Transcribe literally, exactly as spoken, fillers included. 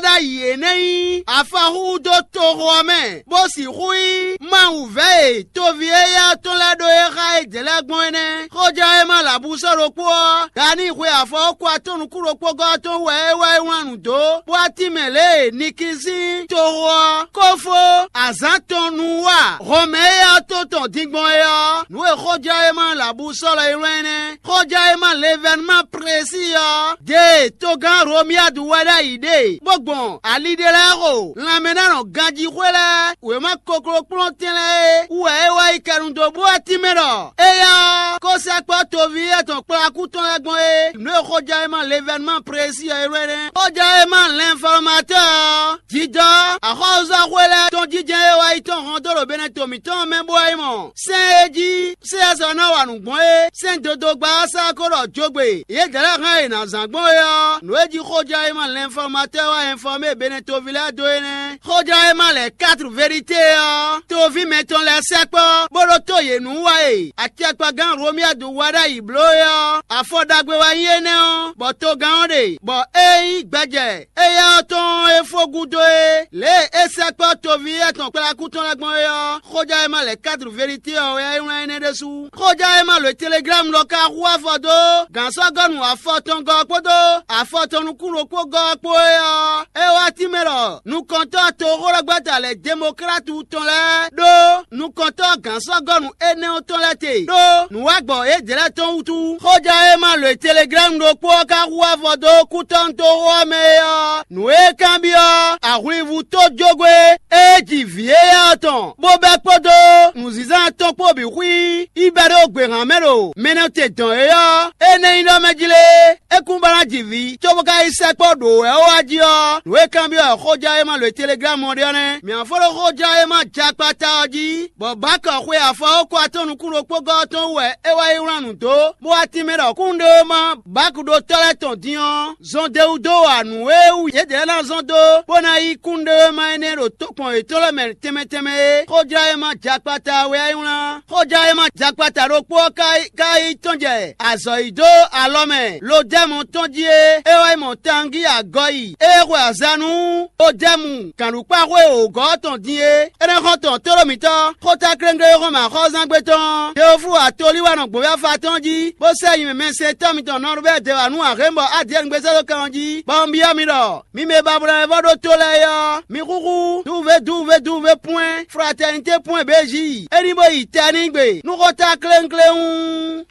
ɖ'ayǐ é nɛ́ nyí afaxúxú dó toxo ɔ́ mɛ, bó sixú nyí Mawu vɛ̌ e toví éyɛ́ ɔ́ tɔn lɛ́ɛ ɖó é xá éjɛ́ lɛ́ɛ gbɔn é nɛ́. Xójɛ́wéma lǎbusɔ́ ɖokpó ɔ́, Dani xwe afɔ ɔ́ kú atɔ́ nukún ɖokpó gɔ́ ɔ́ tɔn wú wɛ é wá yi wlán nǔ dó, bó wá tínmɛ lě e Nikisín toxo ɔ́, kófó azǎn tɔn nu wa Hɔnmɛ éyɛ́ ɔ́ tɔn tɔn din gbɔn é ɔ́, nǔ e xójɛ́wéma lǎbusɔ́ lɔ é wlán é nɛ́. Xójɛ́wéma Levɛnuma Plesi ɔ́, ɖe togán Romiyadu wɛ ɖ'ayǐ ɖe, bó gbɔn ali ɖé lɛ́ɛ xo lanmɛnánɔ ganjíxwé lɛ́ɛ wěma koklokplɔ́ntɛn lɛ́ɛ é wú wɛ é wá yi kɛnu dó bú wɛ tínmɛ ɖɔ éyɛ́ ɔ́, kó sɛkpɔ́ toví étɔn kplɔ́n akú tɔn lɛ́ɛ gbɔn é. Nǔ e xójɛ́wéma Levɛnuma Plesi ɔ́ é wlán é nɛ́. Xójɛ́wéma Lɛnfɔlɔmatɔ́ ɔ́, jijɔ axɔ́súzɔ́xwé lɛ́ɛ tɔn jínjɛ́n e wá yi tɔ́n hɔn dó ɖo Benɛto mǐtɔn ɔ́ mɛ bó wá yi mɔ sɛ́n e jí Seyɛ́sɔ ná wa nǔ gbɔn é, sɛ́n dodogba ɔ́ sá ko ɖɔ jogbe yědɛɛ lɛ́ɛ hɛn e è nǎ zán gbɔn é ɔ́, nǔ e jí xójɛ́wéma Lɛnfɔlɔmatɔ́ wá ɛnfɔmé Benɛtoví lɛ́ɛ dó é nɛ́. Xójɛ́wéma lɛ̌ Katru Verite ɔ́, toví mɛtɔn lɛ́ɛ sɛkpɔ́, bó ɖótó yě nú wa e acɛkpagán Romiyadu wá ɖ'ayǐ bló é ɔ́, afɔ ɖagbe wɛ nyí énɛ́ ɔ́, bɔ togán ɔ́ ɖe, bɔ é nyí gbɛjɛ éyɛ́ ɔ́ tɔn e fó gúdo é, lě e é sɛkpɔ́ toví étɔn kplɔ́yákú tɔn lɛ́ɛ gbɔn é ɔ́, xójɛ́wéma lɛ̌ Katru Verite ɔ́ wɛ é wlán énɛ́ ɖésú. Xójɛ́wéma lǒ e Teleglámu lɔ ka hu afɔ dó gǎnsɔ́gɔ́nu afɔtɔngɔ́ ɔ́ kpódó afɔtɔnukúnɖokpógɔ́ ɔ́ kpó é ɔ́, é wá tínmɛ ɖɔ nukɔntɔ́ toxóɖɔgbɛ́ta lɛ̌ Demoklátu tɔn lɛ́ɛ ɖó nukɔntɔ́ gǎnsɔ́gɔ́nu énɛ́ ɔ́ tɔn lɛ́ɛ te ɖó nǔwagbɔ yědɛɛ lɛ́ɛ tɔn wútu. Xójɛ́wéma lǒ e Teleglámu ɖokpó ɔ́ ka hu afɔ dó kútɔ́nútoxo ɔ́ mɛ é ɔ́, nǔ e é kanbyɔ́ ahwlivú tójógwé e ji vǐ éyɛ́ ɔ́ tɔn, bó bɛ́ kpódó nǔzínzán tɔn kpó bǐ xwí yi bɛ́ ɖó gběhan mɛ ɖo mɛnɔte dɔn é ɔ́, é nɛ́ nyí ɖɔ mɛ jí lé, é kún ba ná ji vǐ, cóbó ka yi sɛkpɔ́ ɖǒ wɛ ó wá jí ɔ́, nǔ e kanbyɔ́ xójɛ́wéma lǒ e Teleglámu ɔ́ ɖe ɔ́ nɛ́. Mǐ fó ɖó xójɛ́wéma jakpata ɔ́ jí, bɔ Bákɔ xwe afɔ ɔ́ kó atɔ́ nukún ɖokpó gɔ́ ɔ́ tɔn wú wɛ é wá yi wlán nǔ dó, bó wá tínmɛ ɖɔ kúnɖéwéma Bákɖótɔ́ lɛ́ɛ tɔn din ɔ́, zɔn d'é wú dó wa nǔ e wú yědɛɛ ná zɔn dó, bó ná yí kúnɖéwéma énɛ́ ɖo tokpɔn yětɔn lɛ́ɛ mɛ tɛnmɛ tɛnmɛ é. Xójlɔ́yɛ́má jakpata wɛ é wlán. Xójlɔ́yɛ́má jakpata ɖokpó ɔ́ ka yi tɔ́n jɛ azɔ̌ yi dó alɔ mɛ Lodɛ́mu tɔn jí é, é wá yi mɔ Tangí agɔyi, é xwe azǎn nú Lodɛ́mu gǎnɖukpáxwé wǒgɔ́ ɔ́ tɔn din é. Énɛ́ xɔ́ntɔn tóɖó mǐtɔn, xótáklɛ́nglé e xɔ́n mɛ axɔ́zángbé tɔn ɔ́, Teoflu atolí wɛ nɔ gbǒn fífá tɔn jí, bó sɛ́ nyi mɛ mɛsɛntɔ́ mitɔn Nɔrubɛ́ɛ dě wǎ nú Ahlɛ̌nbɔ Adiyɛ́ɛn gbézɔ́ dó kan ɔ́ jí, bɔ un byɔ́ mi ɖɔ: mi mɛ e ba bló ná vɔ́ ɖó tó lɛ́ɛ é ɔ́, mi xúxú duvúvé duvúvé duvúvé pwɛ́n fratɛnité pwɛ́n bějí, é ní bó yi tɛ n'i gbe nú xótáklɛ́nglé hú.